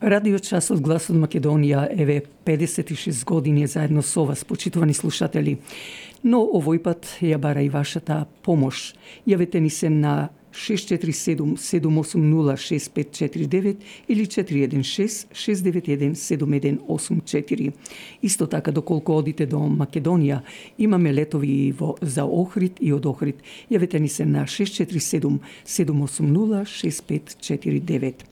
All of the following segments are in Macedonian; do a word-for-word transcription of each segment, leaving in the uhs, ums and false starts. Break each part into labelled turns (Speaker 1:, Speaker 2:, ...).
Speaker 1: Радио Часот Глас од Македонија еве педесет и шест години заедно со вас, почитувани слушатели. Но овој пат ја бара и вашата помош. Јавете ни се на шест четири седум седум осум нула шест пет четири девет или четири еден шест шест девет еден седум еден осум четири. Исто така, доколку одите до Македонија, имаме летови во, за Охрид и од Охрид. Јавете ни се на шест четири седум седум осум нула шест пет четири девет.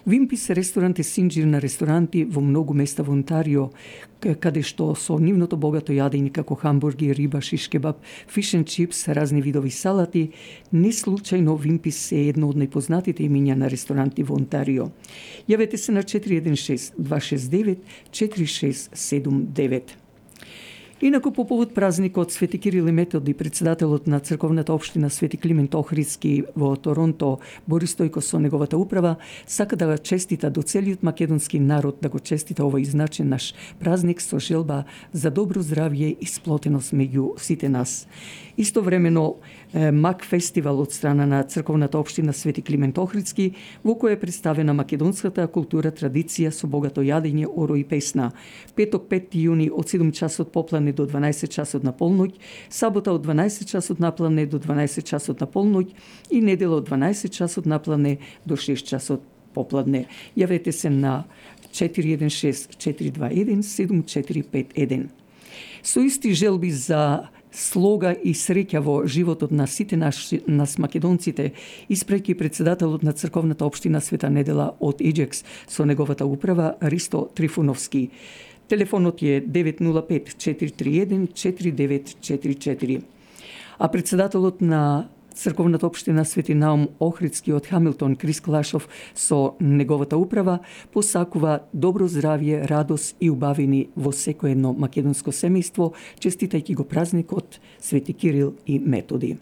Speaker 1: Вимпис ресторант е синџир на ресторанти во многу места во Онтарио, каде што со нивното богато јадење како хамбурги, риба, шиш кебаб, фиш енд чипс, разни видови салати, не случајно Вимпис е едно од најпознатите имиња на ресторанти во Онтарио. Јавете се на четири еден шест два шест девет четири шест седум девет. Инаку по повод празникот Свети Кирил и Методи, председателот на црковната општина Свети Климент Охридски во Торонто, Борис Стојко со неговата управа, сака да честита до целиот македонски народ, да го честита овој значен наш празник со желба за добро здравје и сплотеност меѓу сите нас. Истовремено, Мак фестивал од страна на црковната општина Свети Климент Охридски, во која е представена македонската култура, традиција со богато јадење, оро и песна. Петок пети јуни од седум часот поплане до дванаесет часот на полноќ, сабота од дванаесет часот наплане до дванаесет часот на полноќ и недела од дванаесет часот наплане до шест часот попладне. Јавете се на четири еден шест четири два еден седум четири пет еден. Со исти желби за слога и среќа во животот на сите нас, нас македонците, испреќи председателот на црковната општина Света Недела од Еџекс со неговата управа Ристо Трифуновски. Телефонот е девет нула пет четири три еден четири девет четири четири. А председателот на црковната општина Свети Наум Охридски од Хамилтон, Крис Клашов, со неговата управа посакува добро здравје, радост и убавини во секое едно македонско семејство, честитајќи го празникот Свети Кирил и Методи.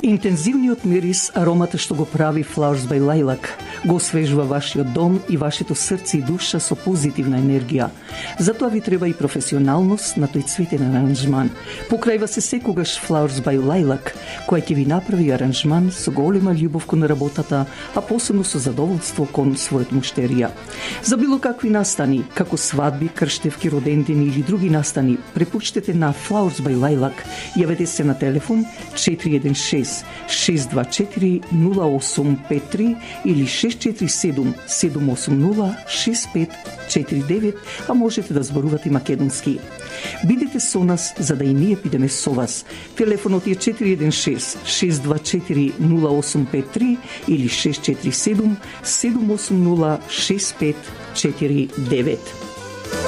Speaker 1: Интензивниот мирис, аромата што го прави Flowers by Lilac, го освежува вашиот дом и вашето срце и душа со позитивна енергија. Затоа ви треба и професионалност на тој цветен аранжман. Покрајва се секогаш Flowers by Lilac, која ќе ви направи аранжман со голема љубов кон работата, а посебно со задоволство кон својот муштерија. За било какви настани, како свадби, крштевки, родендени или други настани, препуштете на Flowers by Lilac. Јавете се на телефон четири еден шест шест два четири нула осум пет три или шест четири седум седум осум нула шест пет четири девет, а можете да зборувате македонски. Бидете со нас, за да и ние бидеме со вас. Телефонот е четири еден шест шест два четири нула осум пет три или шест четири седум седум осум нула шест пет четири девет.